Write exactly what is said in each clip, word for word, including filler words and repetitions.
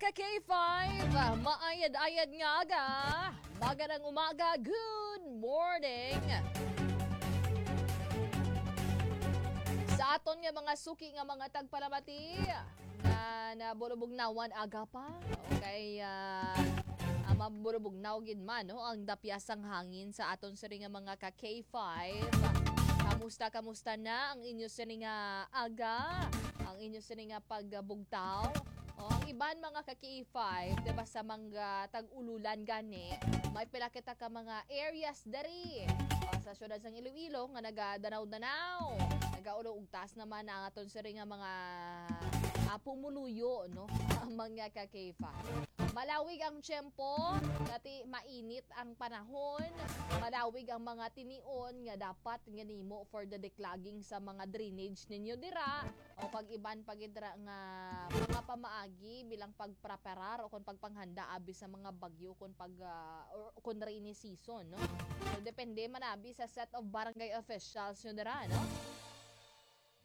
K five, maayad-ayad nga aga. Magandang umaga. Good morning. Sa aton nga mga suki nga mga tagpalamati, nga nabulubugnawan aga pa. Okay, ah, ah, mabulubugnaw gid man, no, ang dapya sang hangin sa aton sini nga mga ka K five. Kamusta, kamusta na ang inyo sini nga aga? Ang inyo sini nga pagbugtaw? O, ang iban mga ka K five, di ba, sa mga tag-ululan gani, may pila kita ka mga areas diri, ah, sa siyudad sang Iloilo nga nagadanaw-danaw, nagaulo ug taas naman ang aton siri nga mga, ah, pumuluyo, no? Ang mga ka K five. Malawig ang tiyempo, dati mainit ang panahon, malawig ang mga tinion nga dapat nga nimo for the declogging sa mga drainage ninyo dira, o kag iban pa gid ra nga mga pamaagi bilang pagpreparar o kon pagpanghanda abi sa mga bagyo, kon pag, ah, or kon rainy season, no? So, depende man abi sa set of barangay officials nyo dira, no?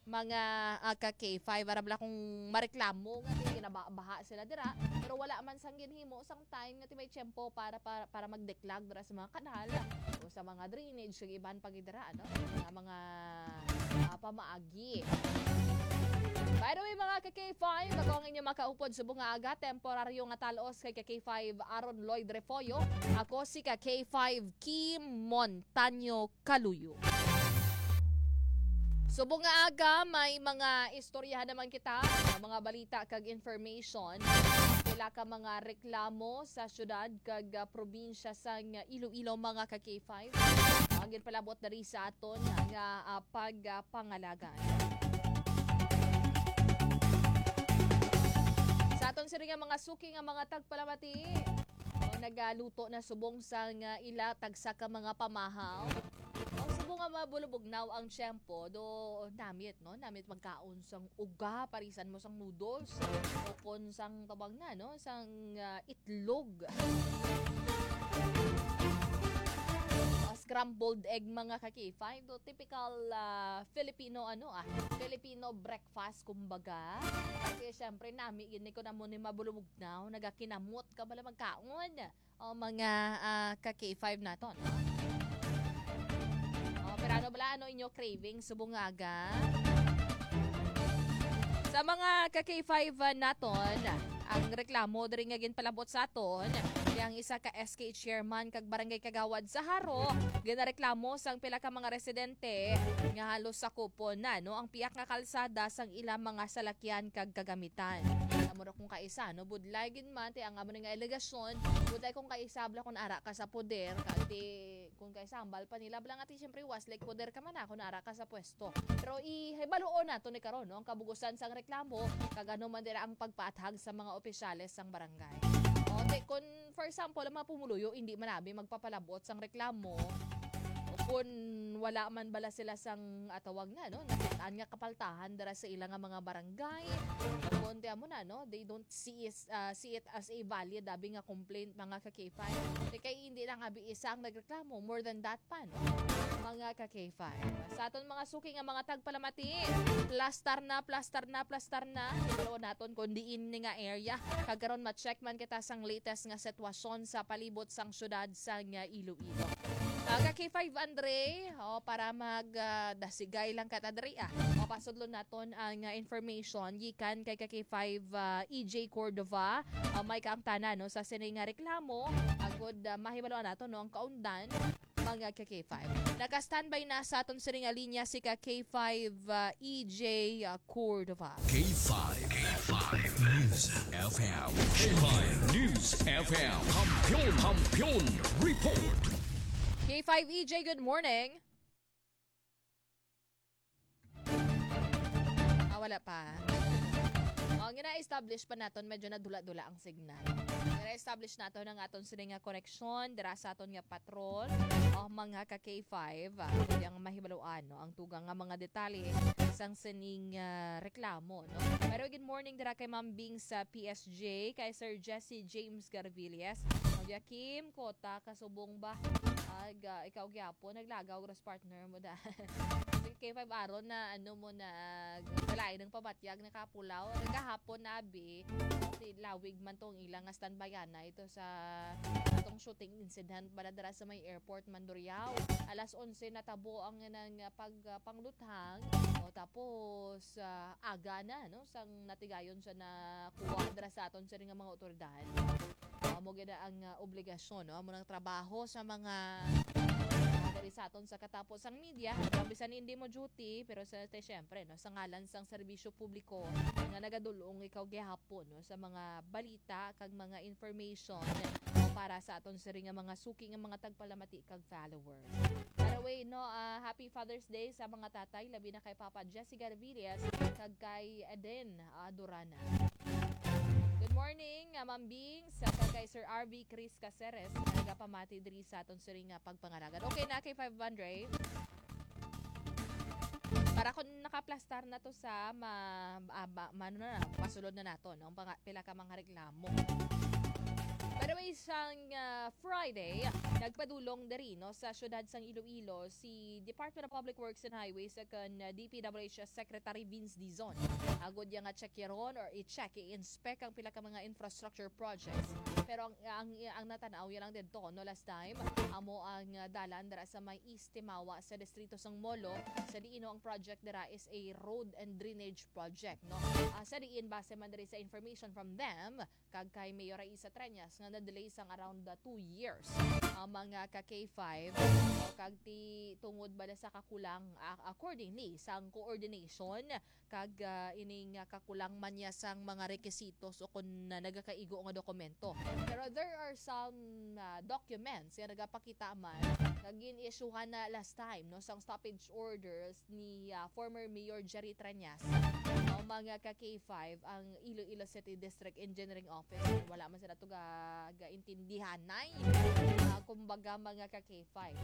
Mga, ah, ka K five, ara bala kung mareklamo nga kay ginabaha sila dira, pero wala man sang ginhimo sang time nga ti may tiyempo para, para, para magdeklag dira sa mga kanal o sa mga drainage, kag iban pa gid dira, ano, nga mga, ah, pamaagi. By the way, mga ka K five, ako ang inyong makaupod subong nga aga, temporaryo nga talos kay ka K five Aaron Lloyd Refollo. Ako si ka K five Kim Montaño Kaluyo. Subong nga aga, may mga istoryahan naman kita, mga balita kag information. Pila ka mga reklamo sa syudad kag, ah, probinsya sang Iloilo, mga ka K five. Ang ginpalabot diri sa aton nga, ah, pagpangalagan. Sa aton sini nga mga suki nga mga tagpalamati, o, nagaluto na subong sang ila tagsa ka mga pamahaw. O, subong nga mabulubugnaw ang tiyempo, do namit, no? Namit magkaon sang uga, parisan mo sang noodles, o kon sang tawag na, no? Sang, ah, itlog. Ah, scrambled egg, mga ka K five, do typical, ah, Filipino, ano, ah, Filipino breakfast, kumbaga. Kasi syempre, nami gid ni ko na mo ni mabulubugnaw, nagakinamot ka bala magkaon. O, mga, ah, ka K five naton, no? O, pero ano bala, ano inyo craving subong nga aga? Sa mga ka K five, ah, naton, ang reklamo diri nga ginpalabot sa aton, kay ang isa ka S K chairman kag barangay kagawad sa Jaro, ginareklamo sang pila ka mga residente nga halos sakupon na, no, ang pihak nga kalsada sang ila mga salakyan kag kagamitan. Amo ra kung kaisa, no, budlay gid man ti ang amo ni nga alegasyon, budlay kung kaisa bala kung ara ka sa poder, kag ti kung kaisa hambal pa nila bala nga ti siyempre was like poder ka man na kung ara ka sa pwesto. Pero ihibaluon nato ni karon, no, ang kabugusan sang reklamo kag ano man dira ang pagpaathag sa mga opisyales sang barangay. O, ti, kung for example, ang mga pumuluyo hindi man abi magpapalabot sang reklamo, o kung wala man bala sila sang atawag na, no, nakit-an nga kapaltahan dira sa ila nga mga barangay, o kung ti amo na, no, they don't see it, ah, see it as a valid abi nga complaint, mga ka K five. Ti kay hindi lang abi isa ang nagreklamo, more than that pa, no, mga ka K five. Sa aton mga suki nga mga tagpalamati, plastar na, plastar na, plastar na. Ibalo naton kung diin ni nga area. Kag karon ma-check man kita sang latest nga sitwasyon sa palibot sang syudad sang Iloilo. Ah, ka K five Andre, o, para mag, ah, dasigay lang ka ta diri, ah. O, pasudlon naton ang, ah, information gikan kay ka K five, ah, E J Cordova. Ah, may kaangtanan, no, sa sini nga reklamo. Agod, ah, mahibaluan nato, no, ang kaundan, mga ka K five. Naka-standby na sa aton sini nga linya si ka K five, ah, E J, ah, Cordova. K five, K five News F M. K five News F M. Kampiyon, Kampiyon Report. K five E J, good morning. Ah, wala pa. Oh, gina-establish pa naton, medyo nadula-dula ang signal. Gina-establish naton ang aton sini nga koneksyon dira sa aton nga patrol, oh, mga ka K five. Ah, kung di ang mahibaluan, no, ang tugang nga mga detalye sang sining, ah, reklamo, no? Pero good morning dira kay Ma'am Bing sa P S J, kay Sir Jesse James Garvillas, Ma'am Kim Kota, kasubong ba? Ag, ah, ikaw gyapon, naglagaw ras partner mo da. K five Aaron na ano mo na, lain ang pabatyag na kapulaw. Gahapon na abi, si lawig man tong ilang nga standby na ito sa atong shooting incident bala dira sa may airport Mandurriao. Alas onse natabo ang nang pag, ah, pangluthang. O, tapos, ah, aga na, no? Sang natigayon siya na kuha dira sa aton siring nga mga otoridad. Amo gid ang, ah, obligasyon, no? Amo nang trabaho sa mga, mga diri sa aton sa katapos ang media. Ang bisan hindi mo duty, pero sa, te, syempre, no? Sa ngalan sang serbisyo publiko nga nagadulong ikaw gihapon, no? Sa mga balita kag mga information, no? Para sa aton siring nga mga suki nga mga tagpalamati kag followers. By the way, no, ah, happy Father's Day sa mga tatay, labi na kay Papa Jesse Garvillas kag kay Eden, ah, Durana. Good morning, ah, Ma'am Bing, sa kag kay Sir R V Chris Caceres, nga nagapamati diri sa aton siring nga pagpangalagad. Okay na, K five Andre? Para kung nakaplastar na to sa ma, ah, ma, ma, ano na, masulod na nato, no? Ang panga-, pila ka mga reklamo. By the way, sang, ah, Friday, nagpadulong diri, no, sa siyudad sang Iloilo si Department of Public Works and Highways kag, ah, D P W H Secretary Vince Dizon. Agod niya nga check yaron or i-check, i-inspect ang pila ka mga infrastructure projects. Pero ang, ang, ang natanaw ya lang didto, no, last time, amo ang, ah, dalan dira sa may East Timawa sa distrito sang Molo, sa diin, no, ang project dira is a road and drainage project, no? Ah, sa diin, base man diri sa information from them, kag kay Mayor Raisa Treñas nga na-delay sang around the two years ang mga ka K five, o kag ti tungod bala sa kakulang, ah, accordingly sang coordination kag, ah, ining, ah, kakulang man niya sang mga rekisitos o kon na nagakaigo nga dokumento. Pero there are some, ah, documents nga nagapakita man nga gin-issuehan na last time, no, sang stoppage orders ni, ah, former Mayor Jerry Treñas. Ang mga ka K five, ang Iloilo City District Engineering Office, wala man sila to ga, gaintindihanay. Ah, kumbaga, mga ka K five.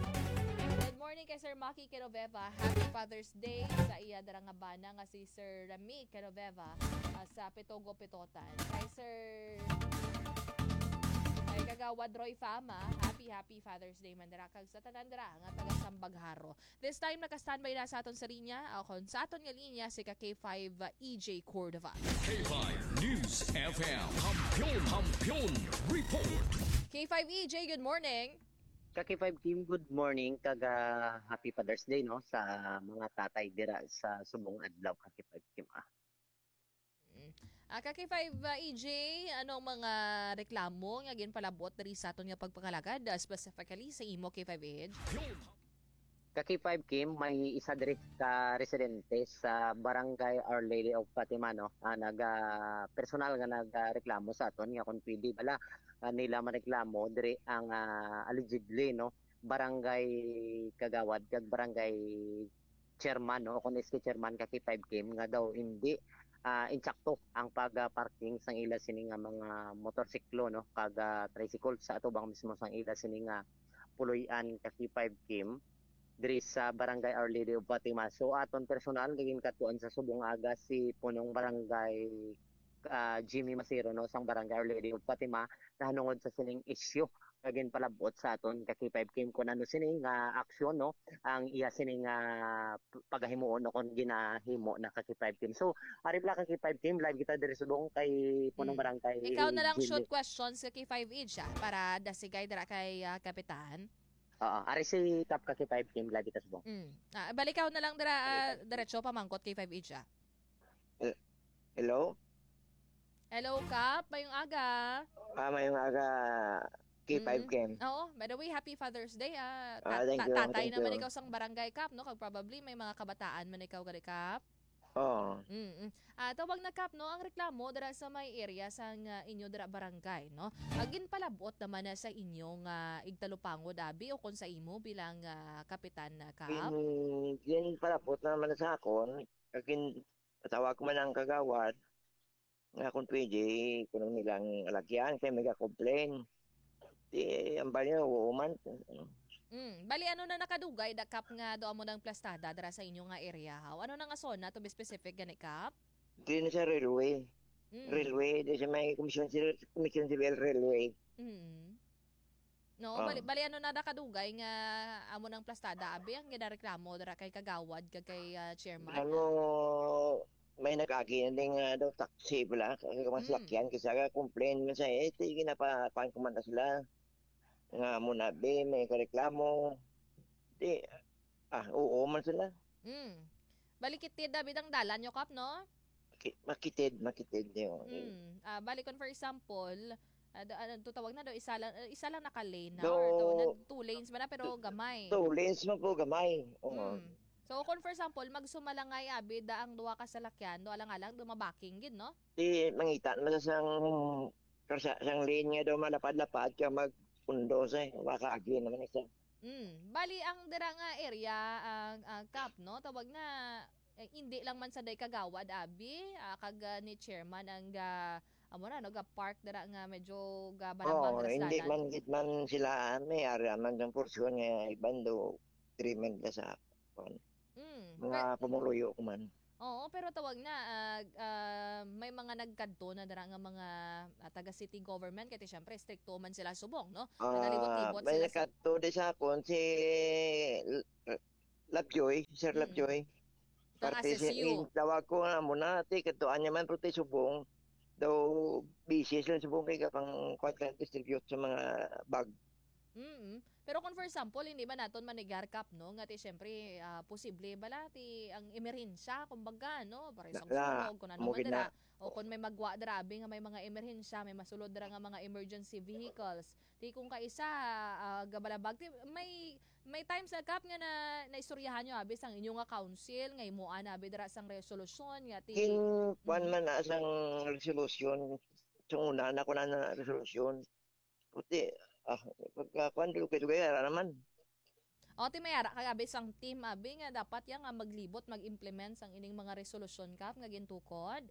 Good morning kay Sir Maki Genoveva. Happy Father's Day sa iya dara nga bana nga si Sir Rami Genoveva, ah, sa Pitogo, Pitotan. Kay Sir, kay Kagawad Roy Fama, happy, happy Father's Day man dira kag sa tanan dira nga taga Sambagharo. This time, naka-standby na sa aton sa linya, o kon sa aton nga linya, si ka K five, uh, E J Cordova. K five News F M. Kampiyon, Kampiyon Report. K five E J, good morning. Ka K five Kim, good morning, kag, ah, happy Father's Day, no, sa mga tatay dira sa subong adlaw, ka K five Kim, ah. Mm. Ah, ka K five, ah, E J, anong mga reklamo nga ginpalabot diri sa aton nga pagpangalagad, ah, specifically sa imo, K five H? Ka K five Kim, may isa diri ka residente sa Barangay Our Lady of Fatima, no, ah, nag, ah, personal nga nagreklamo sa aton nga kung pwede bala, ah, nila mareklamo diri ang, ah, allegedly, no, barangay kagawad kag barangay chairman, no, o kung S K chairman, ka K five Kim, nga daw hindi, ah, insakto ang pag-parking sang ila sini nga mga motorsiklo, no, kag, ah, tricycle sa atubang mismo sang ila sini nga puloy-an, ka K five Kim, diri sa Barangay Our Lady of Fatima. So, aton personal nga ginkadtuan sa subong aga si Punong Barangay, ah, Jimmy Masiro, no, sang Barangay Our Lady of Fatima, nahanungod sa sining isyu nga ginpalabot sa aton, ka K five Kim, kung ano sini nga aksyon, no, ang iya sini nga p-, pagahimuon o kung ginahimo na, ka K five Kim. So, ari bala, ka K five Kim, live kita diri subong kay Punong Mm. Barangay Ikaw na lang Jimmy. Short questions, ka K five H, ah, para dasigay dira kay, ah, Kapitan. Oo, ari si Kap, ka K five Kim, live kita subong. Mm. Ah, bali, ikaw na lang dira, ah, Balik. Diretso pamangkot, K five H, ah. Hel-, hello? Hello, Kap. Mayong aga. Ah, mayong aga, K five Mm. Kim. Oo, by the way, happy Father's Day, ah. Ta-, Ah, thank ta-, you, tatay thank naman you. Ikaw sang barangay, Kap, no? Kag probably may mga kabataan man ikaw gali, Kap. Oo. Mm-mm. Ah, tawag na, Kap, no? Ang reklamo dira sa may area sang, ah, inyo dira barangay, no? Ah, ginpalabot naman na sa inyo nga igtalupangod, abi, o kung sa imo bilang, ah, kapitan na, Kap? Gin-, ginpalabot naman sa akon, kag gin-, tawag ko man ang kagawad, nga kung pwede, kung nilang alagyan, kay may complain. Di, ang bali, oo man. Mm. Bali, ano na nakadugay, da, Kap, nga do amo nang plastada dira sa inyo nga area, haw? Ano na nga zona, to be specific, gani, Kap? Di na sa railway. Mm. Railway, di sa may Commission Civil, Commission Civil Railway. Mm. No, Ah. bali, bali ano na da kadugay nga amo nang plastada, abi, ang ginareklamo dira kay Kagawad kag kay, ah, chairman? Ano, may nag-agi na din nga daw taxi bala, kay mga Mm. salakyan, kisa ka complain man sa, eh, sige na pa, kuwan ko man na sila. Nga mo na, be, may kareklamo. Di, ah, oo man sila. Mm. Bali, kitid, abi, ang dalan nyo, Kap, no? Ki-, makitid, makitid yun. Mm. Ah, bali, kung for example, ah, da- ano, tutawag na daw, isa lang, ah, isa lang naka-lane na, No. Or tawag na, two lanes man na, pero gamay. Two lanes man po, gamay. Oo. Mm. So, kung for example, magsumalangay, abi, da ang duha ka salakyan, do alang-alang, dumabaking gid, no? Di, mangita naman sa sang, karsa, sang lane nga daw malapad-lapad ka mag-undo sa, makaagi naman isa. Mm. Bali, ang dira nga area, ang, ang Kap, no? Tawag na, eh, hindi lang man sa day Kagawad, abi, ah, kag, ah, ni chairman ang ga, amo na, no, ga park dira nga medyo ga Oo, dira sa hindi dalan. man gid man sila, may area man ang porsyon nga iban do, agreement na sa, kuwan, Mm. mga pumuluyo ko man. Oo, pero tawag na, ah, ah, may mga nagkadto na dira nga mga, ah, taga city government, kay syempre, stricto man sila subong, no? Ah, Nagalibot-libot may sila sa nakadto di sa akon si L-, Labjoy, Sir Mm. Labjoy. Kang Parte sa S S U. in, tawag ko nga mo na, ti, kadtuan niya man, pero ti subong. Daw, busy sila subong kay kapang kuwan ka distribute sa mga bag. Mm. Pero kung for example, hindi ba naton manigar, Kap, no? Nga ti, syempre, ah, posible bala ti ang emerhensya, kumbaga, no? Para sa Na, na, sunog, kung ano mo man gid dira. na. O kung may magwa dira, abi, nga may mga emerhensya, may masulod dira nga mga emergency vehicles. Ti kung kaisa, ah, gabalabag, ti, may, may times na, Kap, nga na, naistoryahan nyo, abi, sang inyo nga council, nga himuan, abi, dira sang resolusyon, nga ti, Kin, kuwan Mhm. man na sang resolusyon, sa una na ko na na resolusyon. Puti, ah, pagka kuwan, dugay-dugay, ara naman. O, ti may ara kay abi sang team, abi, nga dapat ya nga maglibot, mag-implement sang ining mga resolusyon, Kap, nga gintukod.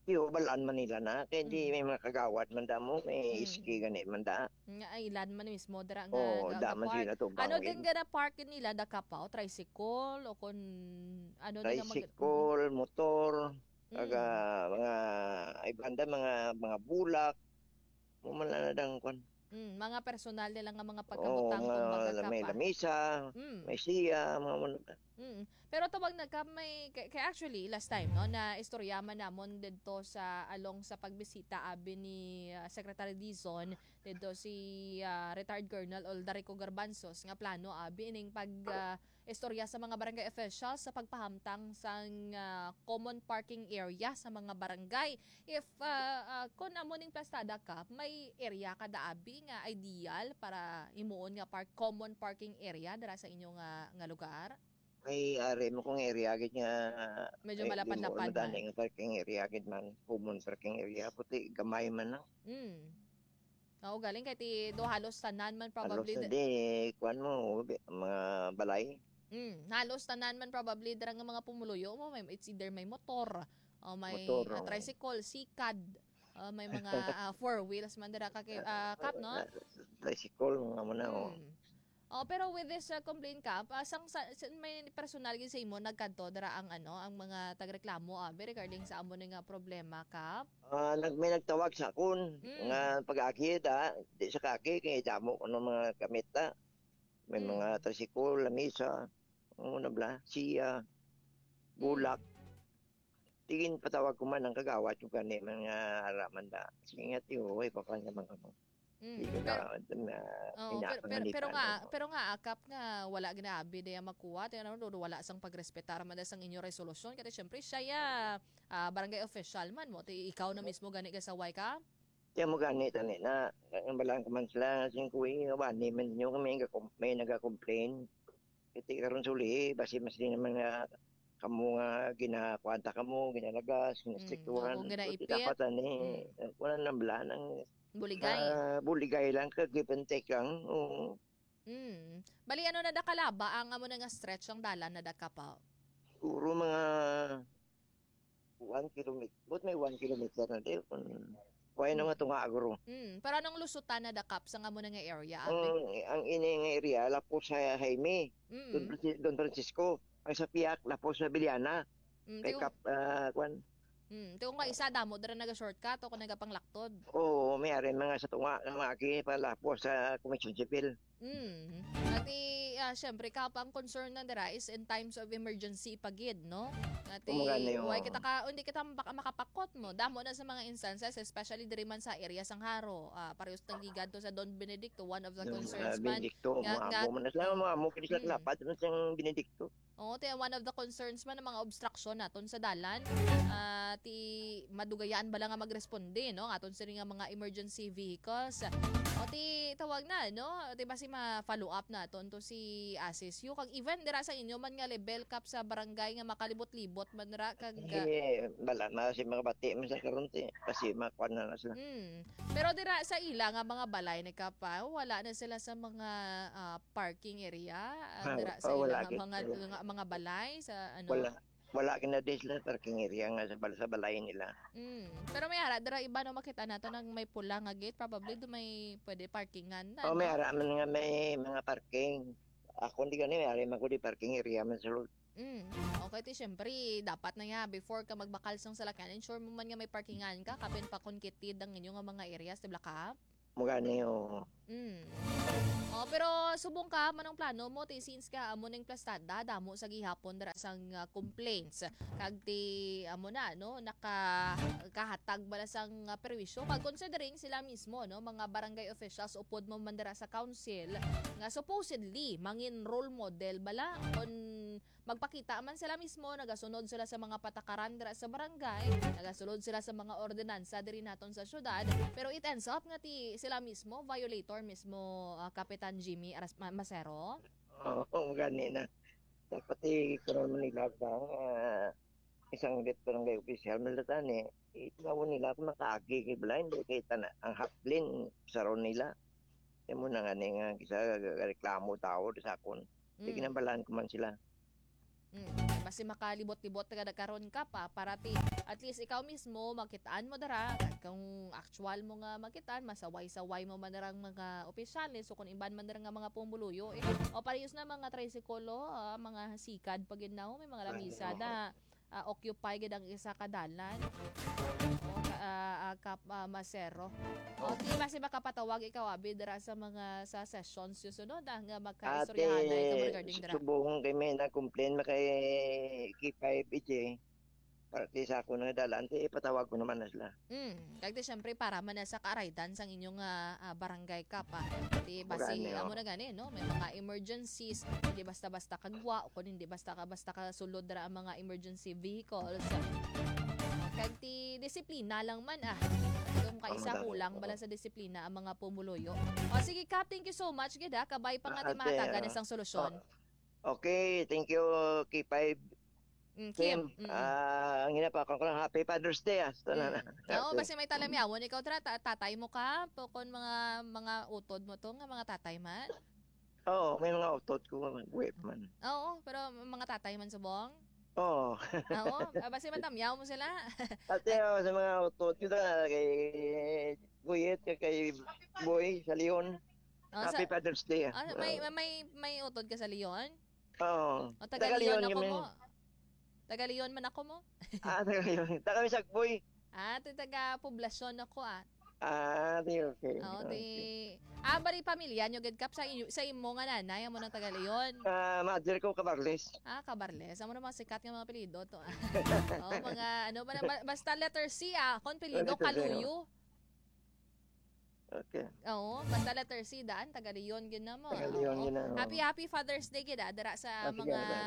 Iyo, balaan man nila na. Kay di Mm. may mga kagawad man damo, may Mm. iski gani man da. Nga, ay, ilan man mismo dira nga Oo, ga-, da man ga-park. sila tubang Ano gid. din gana park nila, da, Kap, o tricycle, o kun ano din ang mag- Tricycle, motor, Mm. kaga mga, ay banda, mga, mga bulak. Mo man lang na dang kwan. Mm, mga personal nila nga mga Oo, pagkabutang, mga kumbaga, may Kap, ah. lamisa, Mm. may siya, mga man. Mm. Pero tawag na, Kap, may, kay, kay actually, last time, no, na istorya man namon dito sa along sa pagbisita, abi, ni, ah, Secretary Dizon, dito si, ah, retired Colonel Oldarico Garbanzos, nga plano, abi, ining pag, ah, istorya sa mga barangay officials sa pagpahamtang sang, ah, common parking area sa mga barangay. If, ah, ah, kun amo ning plastada, Kap, may area ka da, abi, nga ideal para himuon nga park, common parking area dira sa inyo nga, nga lugar? May ari mo kung area gid nga, Medyo eh, malapad-lapad di mo madali man. Nga parking area gid man, common parking area, puti gamay man lang. Mm. Oo, galing kay ti do halos tanan man Halos probably. na Da- di, kuwan mo, mga balay. Mm, halos tanan man probably dira nga mga pumuluyo mo, may, it's either may motor, o may, Motor, ah, oo. Tricycle, sikad, o may mga, ah, four wheels man dira ka, ah, Kap, no? Ah, tricycle, mga mo na, oh. Mm. Oh, pero with this, uh, complaint, Kap, ah, sang, sa, sa- may personal gid sa imo nagkadto dira ang, ano, ang mga tagreklamo, abi, regarding sa amo ni nga problema, Kap? Ah, nag-, may nagtawag sa akon Mm. nga pag-agi da, di sa kagi kay damo kuno mga gamit da. May Mm. mga tricycle, lamisa, ano na bla, siya, Mm. bulak. Tingin patawag ko man ang kagawad ko gani man nga araman da. Sige nga, tiyo, way pa pa naman ano. Mm. Di ko Pero, na, na, oh, ina pero, ko pero, nga di pero pa, nga, ano. Pero nga, ah, Kap, nga wala ginabi daya magkuha, tayo naman, wala sang pagrespetar man da sang inyo resolusyon, kasi syempre siya ya, ah, barangay official man mo, ti ikaw na mismo gani gasaway ka? Tiyan mo gani, tani na, ang balang ko man sila, sing kuwi, wani man nyo, may, nagka-, may nagka-complain. Iti karon suli, basi mas di naman nga kamo nga ginakwanta kamo, ginalagas, Mm, ginastrikturan. ako ginaipit. Dapat ani, Mm. Wala nang bala, nang Buligay. Ah, buligay lang, ka give and take lang. Oo. Mm. Bali, ano na da kalaba ang amo na nga stretch ang dalan na da, Kap? Siguro mga one kilometer. But may one kilometer na din. Kung kaya na Mm. nga tunga agro. Mm. Pero anong lusutan na da, Kap, sa amo na nga area, abi? Ang, ang ini nga area, lapos sa Jaime, Don, Mm. Franci- Don Francisco. Ang sa Piak, lapos sa Biliana. Mm, Kay ti- Kap, ah, kwan, Hmm, ti kung kaisa damo dira naga-shortcut o kung nagapanglaktod. Oo, may ari mga sa tunga nga mga agi palapos sa Commission Civil. Mm. Ati, ah, syempre, kapa ang concern na dira is in times of emergency pa gid, no? Ati, Kumagani, oo. Way kita ka, hindi kita baka makapakot mo. Damo na sa mga instances, especially diri man sa area sang Jaro. Ah, parehas tang gigadto sa Don Benedicto, one of the Yung, concerns ah, man. Benedicto, Nga- mga nga- amo man na sila, mga amo, kini sila Mm. lapad man sang Benedicto. Oo, ti one of the concerns man ng mga obstruction naton sa dalan. Ah, ti madugayan bala nga magresponde, no? Aton sini nga mga emergency vehicles. O ti tawag na, no? Ti basi ma-follow up naton to si Asis Yu. Kag even dira sa inyo man nga level, Kap, sa barangay nga makalibot-libot man ra kag ah, Eh, bala na si mga bati man sa karon ti kasi makuan na na sila. Mm. Pero dira sa ila nga mga balay ni Kapa, wala na sila sa mga ah, parking area. Ah, Ah, dira sa oh, ila wala nga gid. mga, nga mga balay sa ano. Wala. Wala kina di sila parking area nga sa, bal- sa balay nila. Mm. Pero may ara dira iba no makita nato nang may pula nga gate, probably do may pwede parkingan na. Oh, may No? ara man nga may mga parking. Ako hindi gani, may ari man ko di parking area man sulod. Mm. Okay, ti syempre, dapat na nga before ka magbakal sang salakyan, ensure mo man nga may parkingan ka, kapin pa kon kitid ang inyo nga mga areas, di ba, Kap? Mugani, oo. Mm. Oh, pero subong ka, manong plano mo, ti since ka amo ning plastada, damo sa gihapon dira sang ah, complaints. Kag ti amo na no, naka kahatag bala sang ah, perwisyo. Kag considering sila mismo no, mga barangay officials upod mo man dira sa council nga supposedly mangin role model bala kon magpakita man sila mismo, nagasunod sila sa mga patakaran dira sa barangay, nagasunod sila sa mga ordinansa diri naton sa syudad, pero it ends up nga ti sila mismo violator mismo, ah, Kapitan Jimmy Aras- Ma- Masero. Oo, gani na. Dapat i-control mo nila ang ah, isang lit barangay official man tani. Itawo nila kung makaagi kay bala hindi kay tana ang haplin saron nila. Imo na nga ni nga kisa reklamo tao sa akon. Di Mm. Ginambalan ko man sila. Mm. Basi makalibot-libot ka na karon ka pa para ti at least ikaw mismo makitaan mo dara kung actual mo nga makitaan, masaway-saway mo man darang mga opisyales o kung iban man dara nga mga pumuluyo eh. O parehas na mga tricycle, ah, mga sikad pa gid na, may mga lamisa na ah, occupy gid ang isa ka dalan. O, ka, ah, ah, kap, ah, Masero. O, di ba si makapatawag ikaw abi dira sa mga sa sessions yung sunod ah, nga magkaistoryahan na ikaw regarding dira. Subong kay may na-complain na kay K five H A. Para ti sa ako nga dalan, ti ipatawag ko naman na sila. Mm. Kag di syempre para man na sa kaaraydan sang inyong ah, ah, barangay kap. Di basi Gani, amo oh. Na gani no, may mga emergencies, hindi basta-basta kagwa o kung hindi basta ka basta ka sulod ra ang mga emergency vehicles. Kag ti disiplina lang man ah. Kung kaisa Tama, kulang tama. Bala sa disiplina ang mga pumuluyo. O sige kap, thank you so much gid ha. Kabay pa nga Ah, ti mahatagan ate, na sang solusyon. Oh, okay, thank you, K five Mm, Kim. Kim. Mm. Ah, ang ginapakon ko lang, happy Father's Day, ah, sa tanan. Mm. Oo, basi may talamyawon ikaw tra ta- tatay mo ka, po kon mga mga utod mo to nga mga tatay man. Oo, may mga utot ko, wife man. Oo, pero mga tatay man subong. Oo. Oo, ah, basi matamyaw mo sila. Ate, oh, sa mga utot ko na kay Guyet, kay, kay Boy, sa Leon. Oh, sa, Happy Father's Day, ah. Ah, may may may utod ka sa Leon? Oo. O taga Taga Leon Leon ako kami. Mo. Taga Leon man ako mo. Ah, taga Leon. Taga Misagboy. Ah, ti taga poblasyon ako ah. Ah, di okay. Oo, Okay. Ti ah, bali pamilya nyo gid kap sa inyo, sa imo nga nanay amo nang taga Leon. Ah, mother ko, Cabarles. Ah, Cabarles. Amo na mga sikat nga mga apelyido to. Ah. Oh, mga ano ba na- ba- basta letter C ah, kon apelyido Letter C, Kaluyo. Okay. Oo, basta letter C daan taga Leon gid na mo. Taga Leon Oo. Gid na, oo. Happy happy Father's Day gid ah, dira sa Ah, sige, mga sige.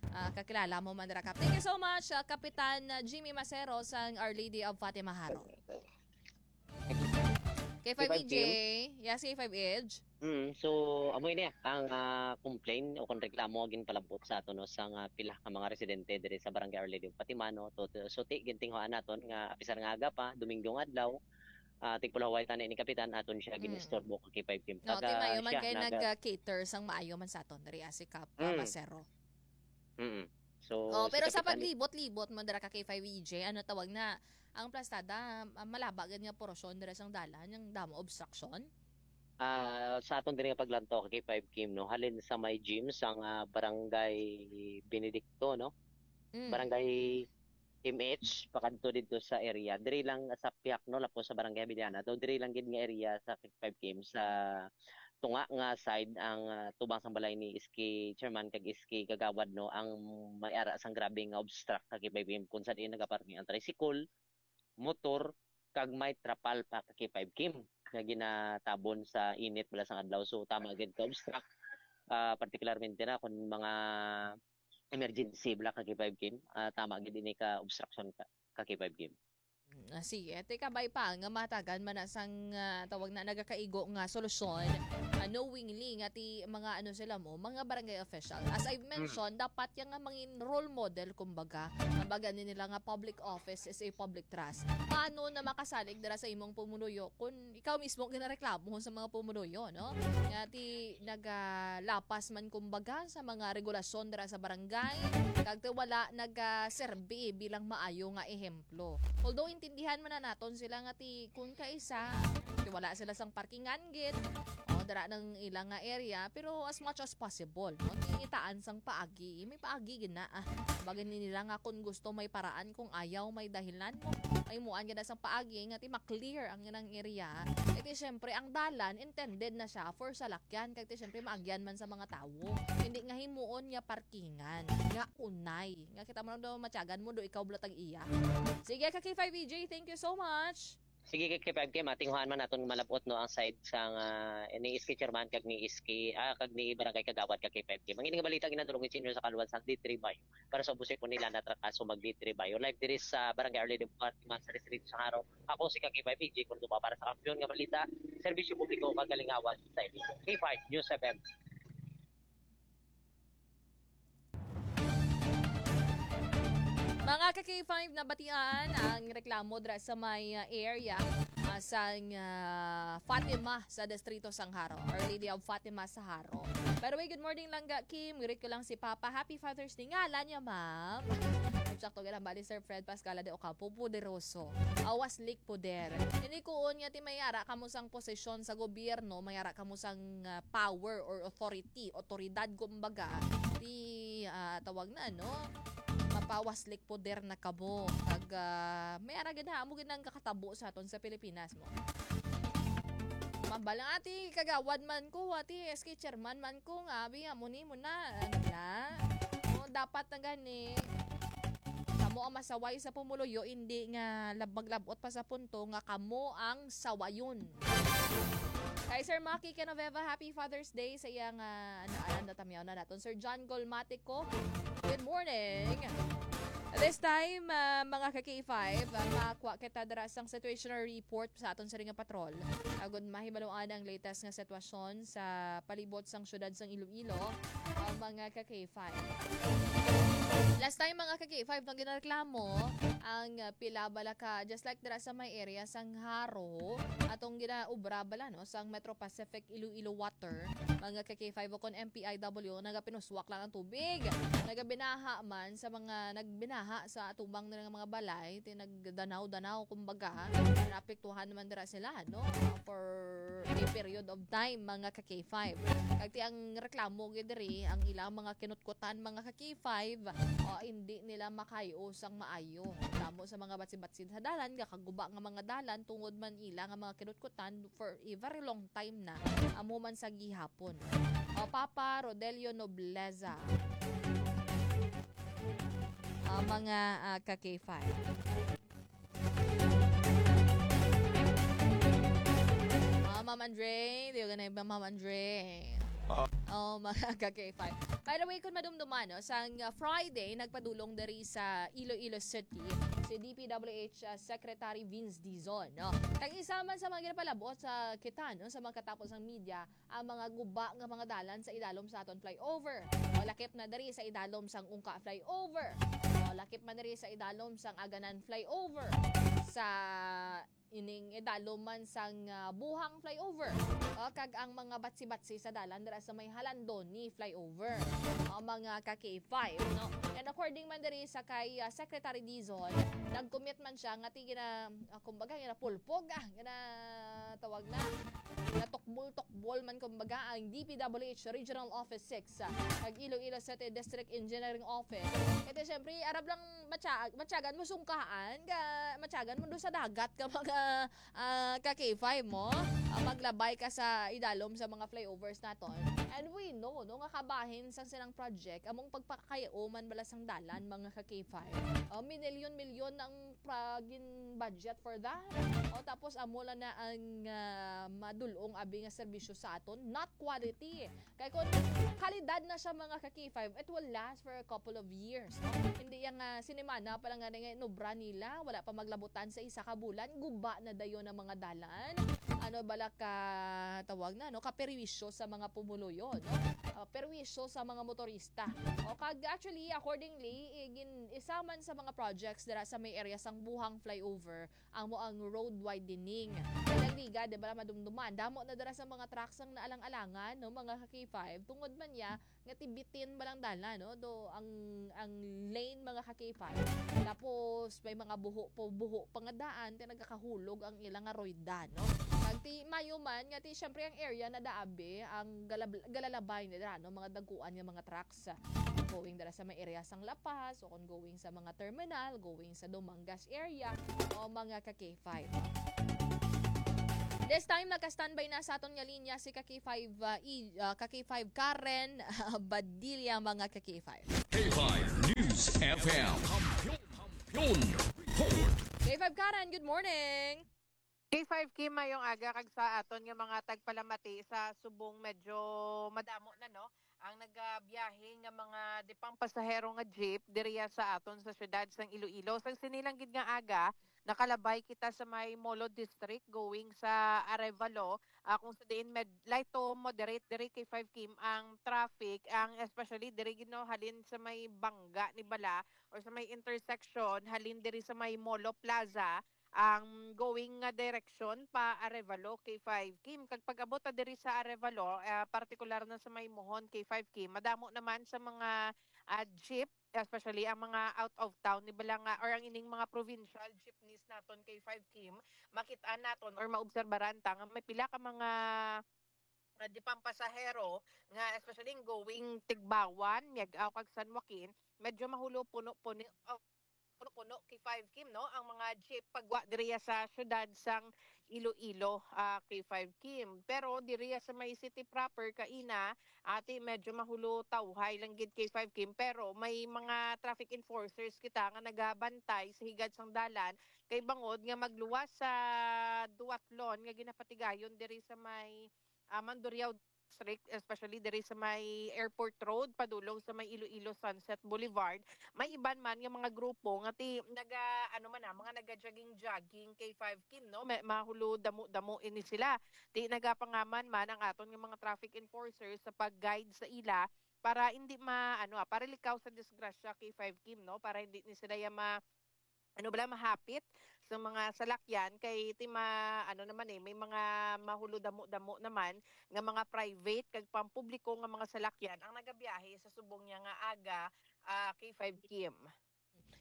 Ah, kakilala mo man dira kap. Thank you so much, ah, Kapitan ah, Jimmy Masero sang Our Lady of Fatima Jaro. K five E J, yes, K five Edge. Mm, so amo ini ang ah, complaint o kung reklamo nga ginpalabot sa ato no sa nga pila ka mga residente diri sa Barangay Our Lady of Fatima no. To, to, so ti gintinguhaan naton nga apisar nga aga pa, Domingo nga adlaw, ah, tigpulahaway tani ni Kapitan aton siya Mm. ginistorbo ka K five Kim. No, ti Taga maayo man siya kay naga- nag-cater sang maayo man sa aton diri ah, si Kap ah, Mm. Masero. Mm. So Oh, si pero sa Kapitan paglibot-libot mo dira ka K five E J, ano tawag na ang plastada, ah, malaba gid nga porosyon dira sang dalan, ang damo obstruction. Ah, sa aton diri nga paglantaw ka K five Kim no, halin sa may gym sang ah, Barangay Benedicto no. Mm. Barangay M H, pakadto didto sa area. Diri lang sa pihak, no, lapos sa Barangay Abellana. Daw diri lang gid nga area sa K five K M sa tunga nga side ang, ah, tubang sang balay ni S K chairman kag S K kagawad, no, ang may ara sang grabe nga obstruct ka K five K M kung saan nagaparking ang tricycle, motor, kag may trapal pa ka K five K M nga ginatabon sa init bala sang adlaw. So, tama gid ka obstruct, ah, partikularmente na kung mga emergency bala ka K five K M, ah, tama gid ini ka obstruction ka, ka K five K M. Mm, ah, sige, ti kabay pa nga matagan man na sang, ah, tawag na, nagakaigo nga solusyon, ah, knowingly nga ti mga ano sila mo, mga barangay official. As I've mentioned, dapat yan nga mangin role model, kumbaga. Kumbaga ni nila nga public office is a public trust. Paano na makasalig dira sa imong pumunuyo kung ikaw mismo ginareklamo sa mga pumunuyo, no? Nga ti nagalapas man, kumbaga, sa mga regulasyon dira sa barangay, kag ti wala nagaserbi bilang maayo nga ehemplo. Although intindihan man na naton sila nga ti kun kaisa, ti wala sila sang parkingan gid, o dira nang ilang nga area, pero as much as possible, no, ti ngitaan sang paagi, may paagi gid na, ah. Bagay ni nila nga kung gusto may paraan, kung ayaw may dahilan mo, ay muan gid na sang paagi nga ti ma-clear ang ilang area. Kay ti syempre ang dalan intended na siya for salakyan, kay ti syempre maagyan man sa mga tawo. Hindi nga himuon nga parkingan, nga unay, nga kita mo lang daw matyagan mo do ikaw bala tag iya. Sige ka K five E J, thank you so much. Sige, kay K five K, matinguhaan man naton malab-ot, no, ang side sang, ah, ni S K chairman kag ni S K, ah, kag ni barangay kagawad kag K five K. Mangin nga balita ginadulong sa inyo sa kaluwan sang D three Bayo. Para sa ubos po nila na trakaso mag D three Bayo. Live diri sa Barangay Arlene de Fatima sa Distrito sa Jaro. Ako si ka K five E J Cordova para sa Kampiyon nga Balita, Serbisyo Publiko kag Kalingawan sa K five News F M. Mga ka K five, nabatian ang reklamo dira sa may, ah, area, ah, sang, ah, Fatima sa Distrito sang Jaro, Our Lady of Fatima sa Jaro. By the way, good morning, Langga Kim. Greet ko lang si Papa. Happy Father's Day. Ngalan niya, ma'am. Sakto gid ang bali, Sir Fred Pascala de Ocampo, poderoso. Awas lik poder. Ini kuon nga ti may ara kamo sang posisyon sa gobyerno, may ara kamo sang, ah, power or authority, otoridad, kumbaga, ti, ah, tawag na, no? Mapawaslik poder na kamo. Kag, ah, may ara gid ha, amo gid ang kakatabo sa aton sa Pilipinas mo. Mambal nga, "Ati, kagawad man ko, ati, S K chairman man ko, nga abi nga mo ni mo na." Ano na? O, dapat na gani. Kamo ang masaway sa pumuluyo, hindi nga lab-, maglabot pa sa punto nga kamo ang sawayon. Kay Sir Maki Genoveva, happy Father's Day sa iyang, ah, ano, ano, tamyaw na naton. Sir John Golmatico, good morning. This time, ah, mga ka K five, ah, makuha kita dira sang situational report sa aton siring nga patrol. Agud mahibaluan ang latest nga sitwasyon sa palibot sang syudad sang Iloilo, ah, mga ka K five. Last time, mga ka K five, nang ginareklamo ang, ah, pila bala ka, just like dira sa may area sang Jaro, atong ginaubra bala, no, sang Metro Pacific Iloilo Water, mga ka K five, o kon M P I W, nagapinuswak lang ang tubig. Nagabinaha man sa mga nagbinaha sa atubang nila nga mga balay, ti nagdanaw-danaw, kumbaga, naapektuhan naman dira sila, no, for a period of time, mga ka K five. Kag ti ang reklamo gid diri, ang ilang mga kinutkutan, mga ka K five, o, hindi nila makayo sang maayo. Damo sa mga batsi-batsi sa dalan, gakaguba nga mga dalan, tungod man ila nga mga kinutkutan for a very long time na. Amo man sa gihapon. O, Papa Rodelio Nobleza. Ah, mga, ah, ka K five. Ah, Ma'am Andre, di ba na yung Ma'am Andre? Ah. Oh, mga ka K five. By the way, kung madumduman, no, sang, ah, Friday, nagpadulong diri sa Iloilo City si D P W H, ah, Secretary Vince Dizon, no? Kag isa man sa mga ginapalabot sa kita, no, sa mga katapos ng media, ang mga guba nga mga dalan sa idalom sa aton flyover. O lakip na diri sa idalom sang Ungka flyover. O lakip man diri sa idalom sang Aganan flyover. Sa ining idalom man sang, ah, Buhang flyover. O, kag ang mga batsi-batsi sa dalan dira sa may Halandoni flyover. O, mga ka K five, no? And according man diri sa kay, ah, Secretary Dizon, nag-commit man siya nga ti gina-, ah, kumbaga, ginapulpog, ah, gina-, tawag na, natukbol-tukbol man, kumbaga, ang D P W H Regional Office six, ah, kag Iloilo City District Engineering Office. Kay ti, syempre, arab lang Matya-, matyagan mo sungkaan, ka, matyagan mo doon sa dagat ka mga, ah, ka K five mo. Ah, maglabay ka sa idalom sa mga flyovers naton. And we know, no, nga kabahin sang silang project, among pagpakayuman bala sang dalan, mga ka K five. Ah, minilyon-milyon ang pra-, gin budget for that. O, tapos amo lang na ang, ah, madulong abi nga serbisyo sa aton, not quality. Kay kung kalidad na siya, mga ka K five, it will last for a couple of years, no? Hindi yang, ah, sinimana pa lang nga nga inobra nila, wala pa maglabutan sa isa ka bulan, guba na dayon ang mga dalan. Ano bala ka tawag na, no? Kaperwisyo sa mga pumuluyo, no? Ah, perwisyo sa mga motorista. O kag actually, accordingly, igin, isa man sa mga projects dira sa may area sang Buhang Flyover, amo ang road widening. Kay lang liga, di ba, madumduman. Damo na dira sa mga trucks ang naalang-alangan, no, mga ka K five. Tungod man niya, nga tibitin ba lang dalan, no? Do, ang, ang lane, mga ka K five. Tapos, may mga buho po, buho pa nga daan, ti nagakahulog ang ilang nga royda, no? Kag ti, mayo man, nga ti, syempre, ang area na daabi, ang galab-, galalabay na dira, no? Mga dagkuan nga mga trucks, ah, going dira sa may area sang La Paz, o kung going sa mga terminal, going sa Dumangas area, o mga ka K five. This time, naka-standby na sa aton nga linya si ka K five, uh, i-, uh, ka K five Karen Badilla, mga ka K five. K five News F M. Kampiyon, Kampiyon Report. K five Karen, good morning. K five Kim, mayong aga, kag sa aton nga mga tagpalamati sa subong, medyo madamo na, no, ang nagabiyahe nga mga di pang pasahero nga jeep diriya sa aton sa siyudad sang Iloilo. Sang sini lang gid nga aga, nakalabay kita sa may Molo District going sa Arevalo, ah, kung sa diin med-, light to moderate diri, K five Kim, ang traffic, ang especially diri gid, no, halin sa may Bangga ni bala or sa may intersection halin diri sa may Molo Plaza, ang going nga direksyon pa Arevalo, K five Kim. Kag pag-abot ta diri sa Arevalo, ah, partikular na sa may Mohon, K five Kim, madamo naman sa mga, ah, jeep, especially ang mga out of town ni bala nga, or ang ining mga provincial jeepneys naton, K five Kim, makit-an naton or maobserbaran ta nga may pila ka mga, ah, di pang pasahero nga, especially yung going Tigbauan, Miag-ao kag San Joaquin, medyo mahulo puno-puno, ah, puno-puno, K five Kim, no, ang mga jeep pagwa diriya sa siyudad sang Iloilo, ah, K five Kim. Pero diriya sa may city proper kaina, ati, medyo mahulo tawhay lang gid, K five Kim, pero may mga traffic enforcers kita nga nagabantay sa higad sang dalan kay bangod nga magluwas sa duatlon nga ginapatigayon diri sa may, ah, Mandurriao District, especially diri sa may Airport Road, padulong sa may Iloilo Sunset Boulevard, may iban man nga mga grupo nga ti-, naga, ano man na, mga naga-jogging-jogging, K five Kim, no? May, mahulo damo-damo ini sila. Ti nagapangaman man ang aton nga mga traffic enforcers sa pag-guide sa ila para hindi ma-, ano, ah, para likaw sa disgrasya, K five Kim, no? Para hindi ni sila ya ma-, ano bala, mahapit sa mga salakyan kay ti ma-, ano naman, eh, may mga mahulo damo-damo naman nga mga private kag pampubliko nga mga salakyan ang nagabiyahe sa subong niya nga aga, ah, K five Kim.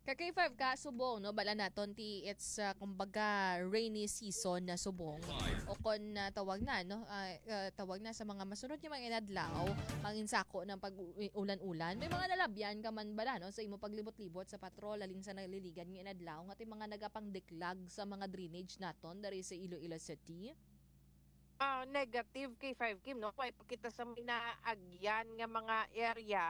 Ka K five ka subong, no, bala naton ti it's, ah, kumbaga, rainy season na subong. O kon, ah, tawag na, no, ah, ah, tawag na sa mga masunod nga mga inadlaw, manginsako ng pag-ulan-ulan. May mga nalabyan ka man bala, no, sa imo paglibot-libot sa patrol, halin sa naliligad nga inadlaw, nga ti mga nagapangdiklag sa mga drainage naton dari sa Iloilo City? Ah, negative, K five Kim, no? Kay pakita sa may naagyan nga mga area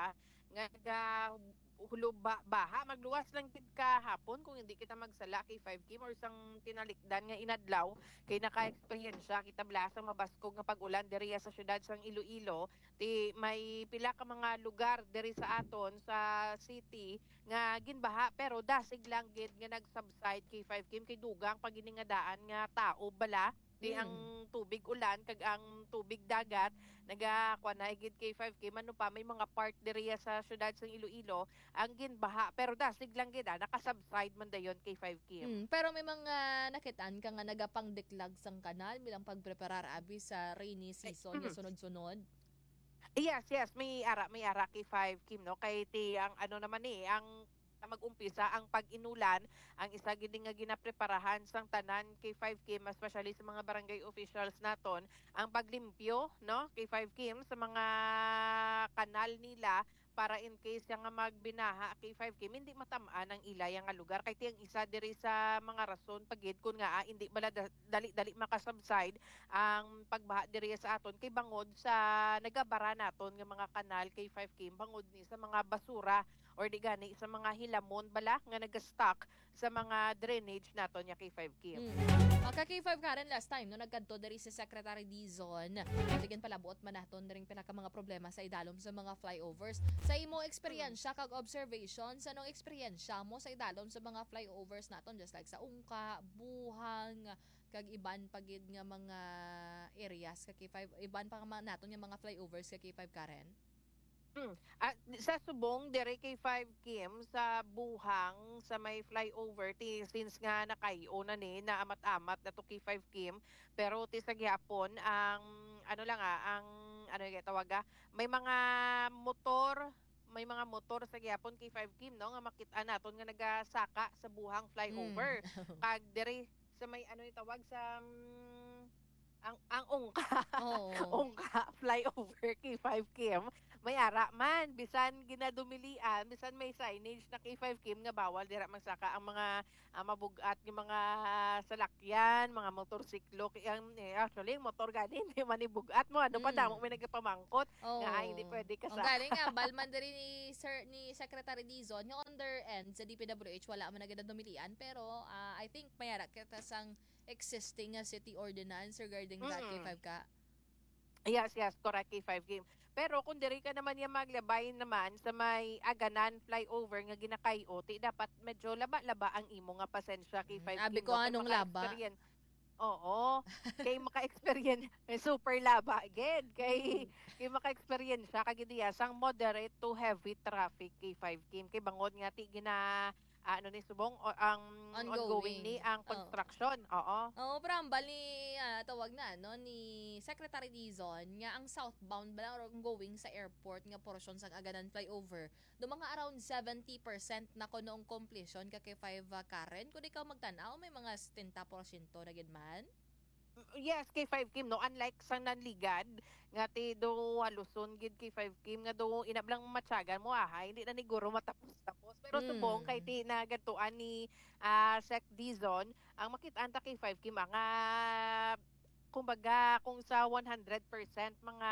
nga naga-, hulo ba-, baha. Magluwas lang gid kahapon kung hindi kita magsala, K five Kim, or sang tinalikdan nga inadlaw kay naka-eksperyensya kita bala sang mabaskog nga pag-ulan diriya sa siyudad sang Iloilo. Ti may pila ka mga lugar diri sa aton sa city nga ginbaha, pero dasig lang gid nga nag-subside, K five Kim, kay dugang pa gid ni nga daan nga taob bala. Di ang Mm. tubig ulan kag ang tubig dagat, naga-, kuwan na gid, K five Kim, ano pa, may mga part diriya sa siyudad sang Iloilo ang ginbaha, pero dasig lang gid, ah, naka-subside man dayon, K five Kim. Mm, pero may mga nakitaan ka nga nagapangdiklag sang kanal bilang pagpreparar abi sa rainy Ay, season nga mm. sunod-sunod? Yes, yes, may ara, may ara, K five Kim, no? Kay ti ang ano naman ni, ang mag-umpisa ang pag-inulan, ang isa gid nga ginapreparahan sang tanan, K five Kim, especially sa mga barangay officials naton, ang paglimpyo, no, K five Kim, sa mga kanal nila para in case siya nga magbinaha, K five Kim, hindi matam-an ang ilay nga lugar. Kay ti ang isa diri sa mga rason pa gid kun nga, ah, hindi bala da-, dali-dali makasubside ang pagbaha diri sa aton kay bangod sa nagabara naton nga mga kanal, K five Kim, bangod ni sa mga basura or di gani sa mga hilamon bala nga nagastock sa mga drainage naton nga K five Kim. Mm. Ah, ka K five Karen, last time, no, nagkadto diri si Secretary Dizon, tigin palabuot man naton diri pila ka mga problema sa idalom sa mga flyovers. Sa imo eksperyensya kag observation, sa anong eksperyensya mo sa idalom sa mga flyovers naton, just like sa Ungka, Buhang, kag iban pa gid nga mga areas ka K five, iban pa nga mga naton nga mga flyovers ka K five, Karen? Hmm. Ah, di-, sa subong, dire K five Kim, sa Buhang, sa may flyover, ti, since nga nakay-o na ni, naamat-amat na to K five Kim, pero ti sa gihapon, ang, ano lang, ah, ang, ano yung tawag, ah, may mga motor, may mga motor sa gihapon K five Kim, no, nga makit-an naton nga nagasaka sa Buhang flyover. Mm. Kag dire sa may, ano yung tawag, sa, mm, ang, ang Ungka. Oo. Ungka, flyover, K five Kim. May ara man, bisan ginadumilian, bisan may signage na K five Kim nga bawal dira magsaka ang mga, ah, mabug-at nga mga salakyan, mga motorsiklo. Kay ang, eh, actually, ang motor gani, hindi man ibug-at mo. Ano pa, Mm. damo may nagapamangkot nga, ay, hindi Oo. pwede ka Ang sa galing nga, balman diri ni Sir, ni Secretary Dizon, nga on their end, sa D P W H, wala man na gid ang dumilian, pero, ah, I think may ara kita sang existing nga city ordinance regarding that, Mm. K five ka? Yes, yes, correct, K five Kim. Pero kung diri ka naman niya maglabay naman sa may Aganan flyover nga ginakay-o, ti dapat medyo laba-laba ang imo nga pasensya, Mm, K five abi Kim, ko, no? Kay anong laba? maka-experience. Oo. Kay maka-experience, eh, super laba, gid. Kay, Mm. kay maka-experience siya, kag diya, sang moderate to heavy traffic, K five Kim. Kay bangod nga, ti gina-, ah, ano ni subong, o, ang Ongoing. ongoing ni ang Oo. construction. Oo. Oo, pero ang bali, ah, tawag na, no, ni Secretary Dizon nga ang southbound ba lang or ongoing sa airport nga portion sang Aganan flyover, do mga around seventy percent na kuno ang completion ka K five, ah, Karen. Kung ikaw magtan-aw, may mga setenta porsyento na gid man. Yes, K five Kim, no? Unlike sa Nanligad, nga ti do haluson gid K five Kim, nga do inablang matyagan mo, aha, hindi na ni guro matapos-tapos. Pero subong kay Mm. ti nagadtuan ni, ah, Sec Dizon, ang makit-an ta K five Kim, ah, nga, kumbaga, kung sa one hundred percent, mga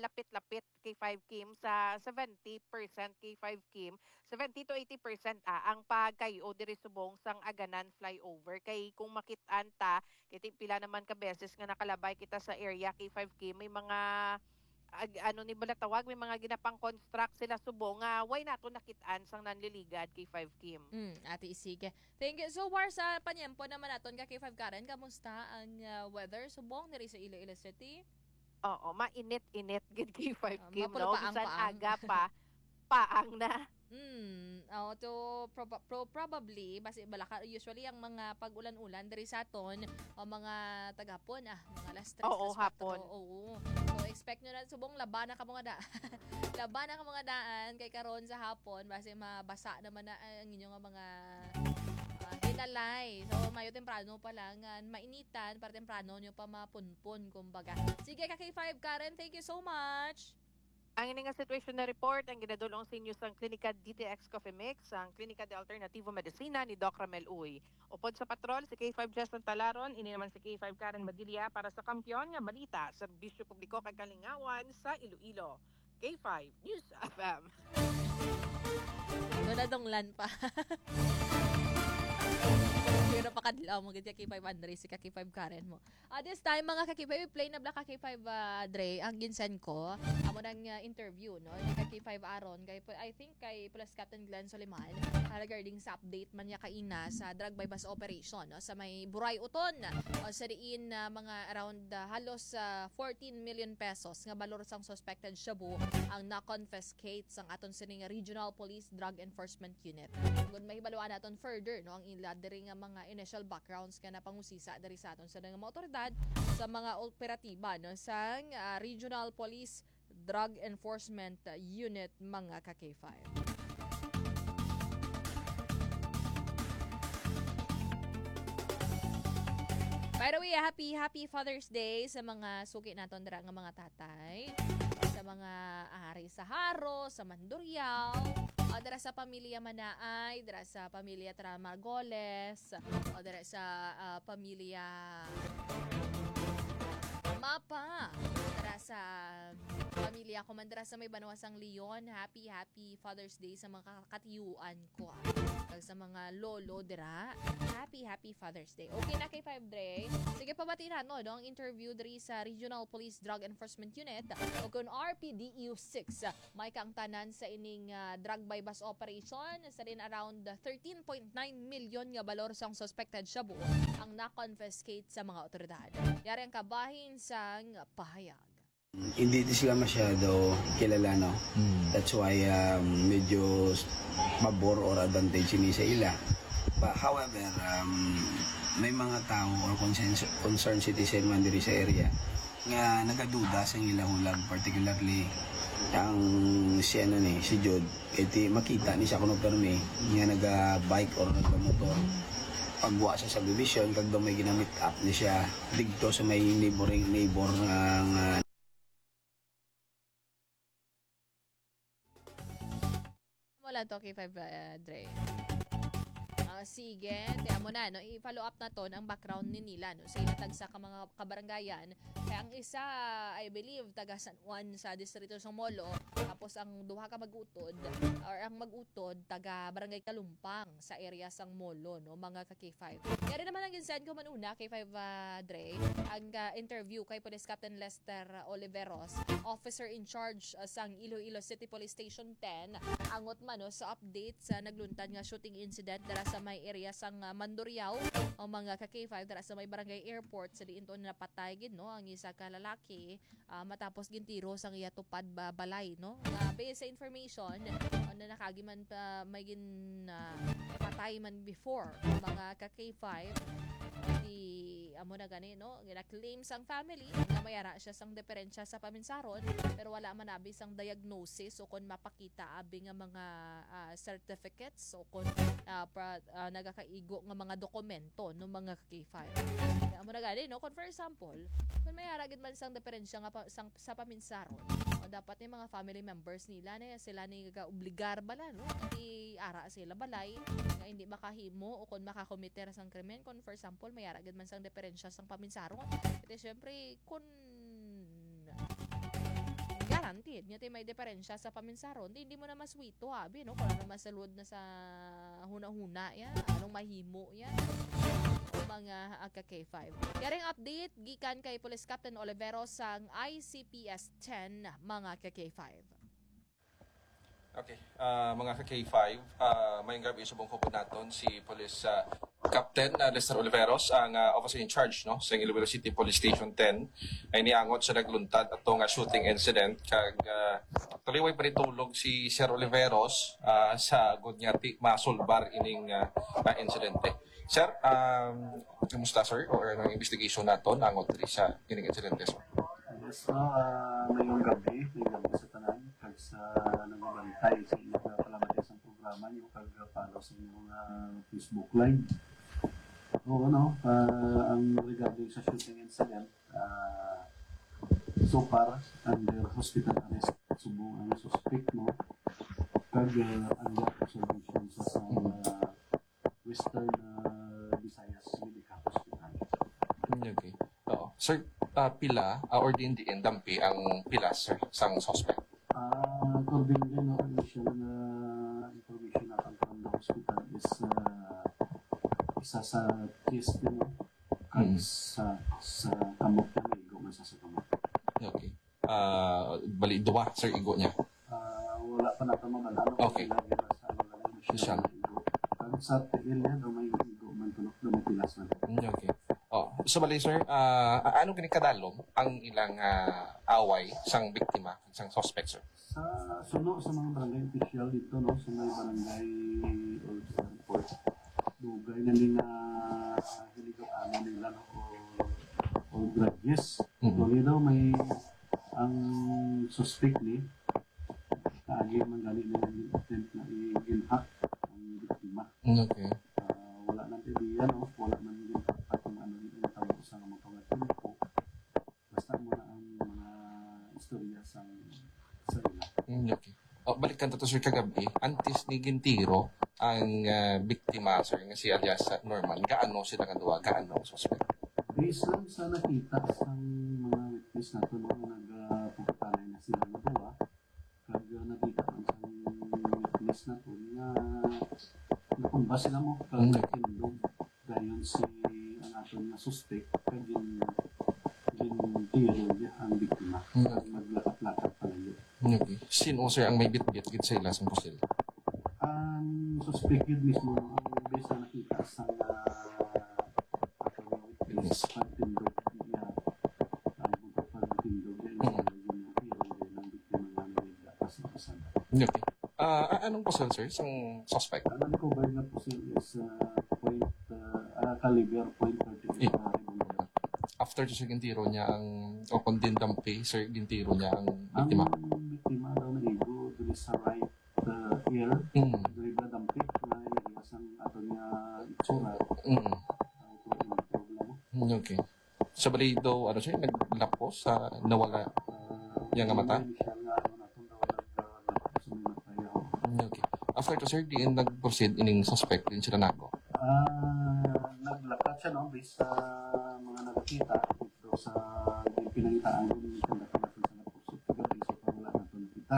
lapit-lapit K five Kim, sa seventy percent K five Kim, seventy to eighty percent, ah, ang pagkay-o diri subong sang Aganan flyover. Kay kung makit-an ta, kay ti-, pila naman ka beses nga nakalabay kita sa area K five Kim, may mga, ag-, ano ni bala tawag, may mga ginapang-construct sila subong nga way nato nakit-an sang Nanliligad, K five Kim. Mm, Ate Isig. Thank you. So far sa panyempo naman naton ka K five Karen, kamusta ang, ah, weather subong diri sa Iloilo City? Oo, mainit-init gid, K five Ah, Kim, mapuro no? Bisan paang-paang. aga pa, paang na. Mm, oh, to proba-, pro-, probably, basi balaka, usually ang mga pag-ulan-ulan diri sa aton, o mga tagahapon, ah, mga alas tres, Oo, alas kuwatro, hapon. Oo. So, expect nyo na, subong laba na ka mga da-, laba na ka mga daan, kay karon sa hapon, basi mabasa naman na ang inyo nga mga, ah, hinalay. So, mayo temprano pa lang, ah, mainitan, para temprano nyo pa mapunpon, kumbaga. Sige, ka K five Karen, thank you so much. Ang ini nga situation na report ang ginadul-ong sa inyo sang Klinika D T X Coffee Mix, ang Klinika de Alternativo Medicina ni Doc Ramel Uy. Upod sa patrol, si K five Jason Talaron, ini naman si K five Karen Badilla para sa Kampiyon nga Balita, Serbisyo Publiko kag Kalingawan sa Iloilo. K five News F M. Doon nadunglan pa. Pero pakadlaw mo, gid ka K five Andres, si ka K five Karen mo. Ah, this time, mga ka-K five, play na bala ka-K five, ah, Dre, ang ginsend ko. Amo nang, ah, interview, no? Ni ka-K five Aaron, kay, I think kay Police Captain Glenn Soliman, ah, regarding sa update man niya kaina sa drug buy-bust operation, no? Sa may Buray Uton, o sa diin, ah, mga around, ah, halos, ah, fourteen million pesos nga balor sang suspected shabu ang na-confiscate sang aton sining Regional Police Drug Enforcement Unit. Kung mahibaluan naton further, no, ang ila diri nga mga initial backgrounds nga napangusisa diri sa aton sa mga otoridad sa mga operatiba, no, sang, ah, Regional Police Drug Enforcement Unit, mga ka-K five. By the way, happy, happy Father's Day sa mga suki naton dira nga mga tatay. sa mga ari sa Jaro, sa Mandurriao, o dira sa pamilya Manaay, dira sa pamilya Tra Margoles, o dira sa, ah, pamilya Mapa, dira sa pamilya ko man dira sa may banwa sang Leon. Happy, happy Father's Day sa mga katiyuan ko, ah. Kag sa mga lolo dira, happy, happy Father's Day. Okay na kay Five Dre. Sige, pabati na, no, no, ang interview diri sa Regional Police Drug Enforcement Unit o kon R P D U six. May kaangtanan sa ining, ah, drug buy-bust operation. Sa din around thirteen point nine million nga balor sang suspected shabu ang na-confiscate sa mga otoridad. Yari ang kabahin sang pahayag. Hindi di sila masyado kilala, no? Mm. That's why um, medyo s- pabor or advantage ini sa ila. But however, um, may mga tao or concern, concerned citizen man diri sa area nga nagaduda sa ilang hulag, particularly ang si ano ni si Jude, kay ti makita ni siya kuno permi nga naga-bike or nagmotor pagwa sa subdivision kag daw may ginamit up ni siya didto sa may neighboring neighbor nga, nga Wala to kay Five, uh, Dre. Ah, sige, kaya mo na, no? I-follow up naton ang background ni nila, no? Sa ilang tagsa ka mga kabarangayan. Kaya ang isa, I believe, taga San Juan sa distrito sa Molo. Tapos ang duha ka mag-utod, or ang mag-utod, taga Barangay Kalumpang sa area sang Molo, no? Mga ka K five. Kaya rin naman ang ginsend ko man una, K five, ah, Dre, ang ah, interview kay Police Captain Lester Oliveros, officer in charge, ah, sang Iloilo City Police Station ten, angot man, no, sa update sa nagluntad nga shooting incident dira sa may area sang ah, Mandurriao, o mga ka K five, dira sa may barangay airport, sa diin to napatay gid, no, ang isa ka lalaki, ah, matapos gintiro sang iya tupad ba balay, no. Nga based sa information, ano, nakagi man pa may gin ah, patay man before, mga ka K five, di amo na gani, no? Gina-claim sang family nga may ara siya sang diferensya sa paminsaron, pero wala man abi sang diagnosis o kon mapakita abi nga mga ah, certificates o kon ah, pra- ah, nagakaigo nga mga dokumento, no, mga K five. Kaya amo na gani, no? Kon for example, kon may ara gid man sang diferensya nga pa, sang, sa paminsaron, o dapat ni mga family members nila, ni sila ni ga-obligar bala, no? Hindi ara sila balay nga hindi makahimo o kon makakomiter sang krimen. Kon for example, may ara gid man sang diferensya sang paminsaron. Ito, syempre, kon guaranteed nga ti may diferensya sa paminsaron, di hindi mo na maswito, abi, no? Kung ano masalud na sa huna-huna, ya, anong mahimo, ya, o mga ah, ka K five. Yaring update gikan kay Police Captain Olivero sang I C P S ten, mga ka K five. Okay, ah, mga ka K five, ah, mayong gabi subong hupod naton si Police ah, Captain ah, Lester Oliveros, ang ah, officer in charge, no, sa Iloilo City Police Station ten, ay niangot sa nagluntad ato nga shooting incident kag ah, actually way pa rin tulog si Sir Oliveros ah, sa gud nga ti masulbar ining ah, ah, insidente. Sir, um, kumusta, sir? Or anong investigation nato nangot diri sa ining insidente, sir? Yes, no, ah, mayong gabi, mayong gabi sa tanan, kag sa nagabantay sa inyong palamatay sa programa niyo, kag follow sa inyong ah, Facebook Live. Oo, no, ah, ang regarding sa shooting incident, ah, so far, under hospital arrest subong ang suspect, no, kag ah, under observation sa, sa ah, Western ah, Visayas Medical Hospital. Mm, okay. Oo. Sir, ah, pila ah, or diin diin dampi ang pila, sir, sang suspect? Ah, according din, no, initial na information natin from the hospital is ah, isa sa chest, no, kag Mm. sa sa kamot na may igo man sa sa kamot. Okay. Ah, bali, duwa, sir, igo niya. Ah, wala pa nato mabal-an kung Okay. sila gina sa ano lang, Siya. Kag sa tiil niya, daw may igo man, tulok daw may pilas na. Mm, okay. Oh, so bali, sir, ah, ano gani kadalom ang ilang ah, away sang biktima, sang suspect, sir? Sa suno sa mga barangay official dito, no, sa may barangay o sa airport, dugay na ni nga hiligop-anan nila, no, o, o grudges. Mhm. Actually daw may ang suspect ni kaagi man gani nila gin-attempt na i-ginhack ang biktima. Mm, okay. Ah, wala nang idea, no? Wala man ginhack kung ano yung tabo sa mga pangatimpo. Basta mo na ang mga istorya sa Okay. O, balikan ta to, sir, kagabi, antes ni gintiro ang, ah, biktima, sir, nga si alias, ah, Norman, gaano sila nga duha? Gaano ang suspect? Based lang sa nakita sang mga witness nato, no, nga nagpapatanay na sila nga duha, kag, ah, nakita man sang witness nato nga nakumbas sila mo, kag Mm. nagtindog dayon si, ang aton nga suspect, kag gin-, gintiro niya ang biktima. Mm. Kag maglakat-lakat palayo. Okay. Sin-o, sir, ang may bitbit gid sa ila sang pusil? Ang suspect gid mismo, no, ang base na nakita sa, ah, aton nga witness, Yes. pagtindog niya, ang pagtindog niya, Mm. yung, yung tiro niya ng biktima nga nagdata sa kasada. Okay. Ah, a-, anong pusil, sir, sang suspect? Ang na-recover na pusil is, ah, point, ah, ah, caliber point thirty-eight, Eh. ah, revolver. After to, sir, gintiro niya ang, o kung din dampi, sir, gintiro niya ang biktima? Ang biktima daw naigo diri sa right, ah, ear, Mm. diri ba dampi, na area sang aton nga itsura. Mm. Ang problema. Mm, okay. Sa balay daw, ano siya, naglapos sa nawala Ah, niya nga mata? Initial nga, ano, nato daw nag-, ah, nag-, sa may mata, yaw. Mm, okay. After to, sir, diin nag-proceed ining suspect, diin sila nago? Ah, naglakat siya, no, based sa mga nakakita, dito sa pinangitaan ko, yung pinangitaan ko sa nag-proceed kagabi, so, parang wala na to nakita.